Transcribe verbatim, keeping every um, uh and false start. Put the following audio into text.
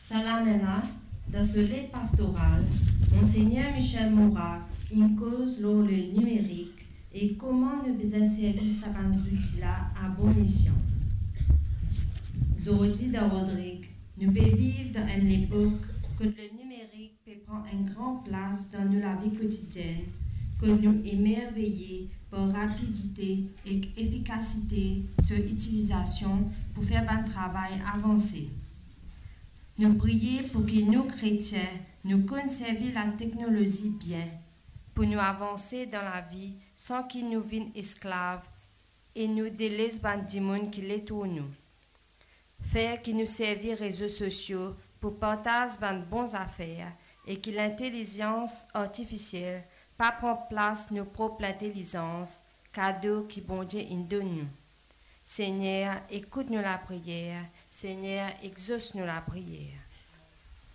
Sa lamem la, dan so let pastoral, Monsegner Michel Morat inn koz lor le nimerik e kouma nou bizin servi sa bann zouti la a bon esian. Zordi dan Rodrig, nou pe viv dan enn lepok kot le nimerik pe pran enn gran plas dan nou lavi kotidienn, kot nou emerveye par rapidite ek efikasite so itilizasion pou fer bann travay avanse. Nou priye pou ki nou kretien, nou konn servi lateknolozi bien, pou nou avanse dan lavi san ki nou vinn esklav e nou deles bann dimoun ki letour nou. Fer ki nou servi rezo sosio pou partaz bann bon zafer e ki lintelizans artifisiel pa pran plas nou prop lintelizans, kado ki Bondie inn donn nou. Segner, ekout nou lapriyer. Segner, exos nou lapriyer.